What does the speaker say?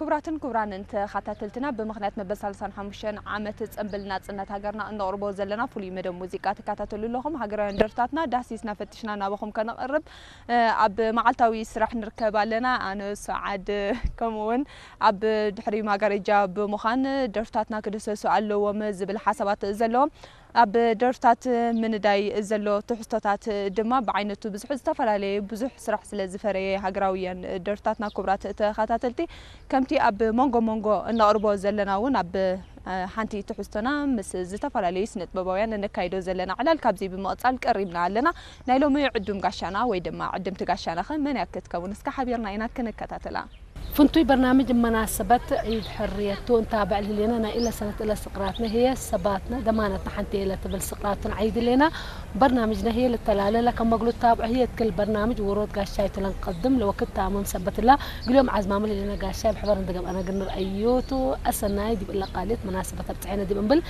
ክቡራትን ክቡራንን ተኸታተልትና፣ ብምኽንያት መበል ሰላሳን ሓሙሽተን ዓመት ጽንብል ናጽነት ሃገርና እነቕርቦ ዘለና ፍሉይ መደብ ሙዚቃ ትከታተሉ ኣለኹም። ሃገራውያን ደርፍታትና ዳህሲስና ፈቲሽና ናባኹም ከነቕርብ፣ እ፣ ኣብ መዓልታዊ ስራሕ ንርከብ ኣለና። ኣነ፣ ሰዓድ፣ ከምኡ እውን ኣብ ድሕሪ ማጋረጃ ብምዃን ደርፍታትና ክድህሰሱ ኣለዎም ዝብል ሓሳባት ዘለዎም፣ ኣብ ደርፍታት ምንዳይ ዘሎ ትሕዝቶታት ድማ ብዓይነቱ ብዙሕ ዝተፈላለየ፣ ብዙሕ ስራሕ ስለ ዝፈረየ ሃገራውያን ደርፍታትና፣ ክቡራት ተኸታተልቲ፣ ከምቲ ኣብ መንጎ መንጎ እነቕርቦ ዘለና እውን ኣብ፣ እ፣ ሓንቲ ትሕዝቶና ምስ ዝተፈላለዩ ስነ ጥበባውያን እነካይዶ ዘለና ዕላል ካብዚ ብምቕጻል ቀሪብና ኣለና። ናይ ሎሚ ዕዱም ጋሻና ወይ ድማ ዕድምቲ ጋሻና ኸ መን እያ ክትከውን? እስከ ሓቢርና ኢና ክንከታተላ። ፍንቱይ በርናምጅ መናሰበት ዒድ ሕርየቱ እንታ በዕል ህሌና ናይ ኢለ ሰነት እለ ስቕራትነ ህየ ሰባትነ ደማነትና ሓንቲ የለ ትብል ስቕራትን ዓይድ ህሌና በርናምጅነ ህየ ልተላለለ ከም መግሉ ታብዑ ህየ ትክል በርናምጅ ውሮት ጋሻይ ትለን ቀድም ለወክት ታሙን ሰበትላ ግልዮም ዓዝማም ህሌና ጋሻይ ብሕበር እንተገብአና ግን ንርአዮቱ ኣሰናይ ዲብ እለ ቃልየት መናሰበት ኣብፅሐነ ዲብ እምብል